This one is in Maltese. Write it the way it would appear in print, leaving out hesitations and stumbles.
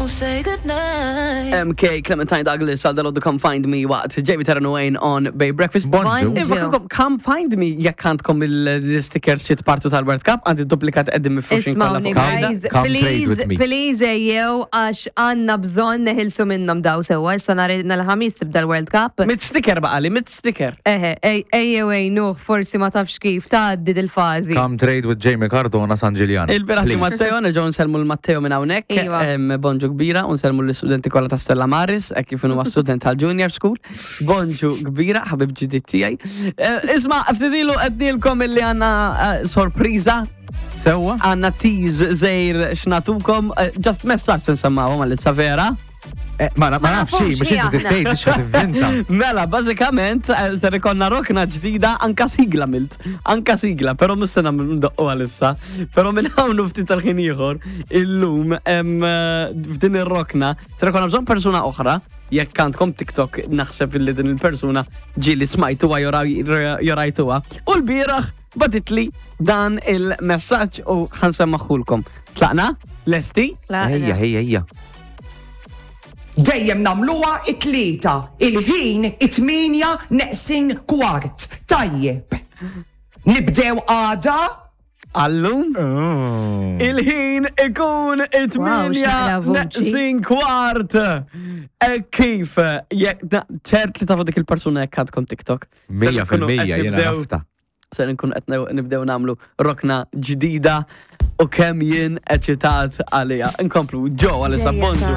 won't say goodnight. MK Clementine Douglas għal dal Come Find Me waqt Jamie Terran Wayne on Bay Breakfast. Bonġu. Infakrukom, Come Find Me jekk għandkom il-stickers xi tpartu tal-World Cup, għandi duplikat qegħdin mifruxin kollha Ismawni, fuq il-mejda. guys, Come trade please, with me. please ejjew għax għanna bżonn neħilsu minnhom daw sewwa. Issa nhar il-ħamis tibda l-World Cup. Mit sticker baqali, mit sticker. Eħe, ejjew ejnuh, forsi ma tafx kif tgħaddi dil-fażi. Come trade with Jamie Cardona San Ġiljan. Il-biraħ Please. Matteo, nerġgħu nselmu l-Matteo minn hawnhekk. Iva. Bonġu kbira, u nselmu l-istudenti kollha ta' Stella Maris, hekk kif huwa student tal-Junior School. Bonġu kbira, ħabib ġdid tiegħi. Isma' ftitilu qednilkom illi għandna sorpriża, Sewwa? għandna tease żejr x'natukom, just messaġġ se nsemmawhom għalissa vera. Ma ma nafx nafux xi, biex hi inti aħna. tgħid biex tivvinta. Mela, bażikament ser ikonna rokna ġdida anka sigla milt. Anka sigla, però mhux se nagħmlu ndoqqu għalissa. Però minn hawn u ftit tal-ħin ieħor illum f'din ir-rokna ser ikonna bżonn persuna oħra jekk għandkom TikTok naħseb illi din il-persuna ġieli smajtuha jew rajtuha. U l-bieraħ bagħtitli dan il-messaġġ u ħansemmaħulkom. Tlaqna? Lesti? Ejja, ejja, ejja. Dejjem nagħmluha it-Tlieta, il-ħin it-tmienja neqsin kwart. Tajjeb. Nibdew għada? Għallum? Il-ħin ikun it-tmienja x'naqra vuċi. neqsin kwart. E kif? Jekk ċert li tafu dik il-persuna jekk għandkom TikTok. Se 100% nkunu qed jiena nibdew- nafta. Se nkun qed nibdew nagħmlu rokna ġdida u kemm jien eċitat għalija. Inkomplu ġo għalissa Ġejja bonġu.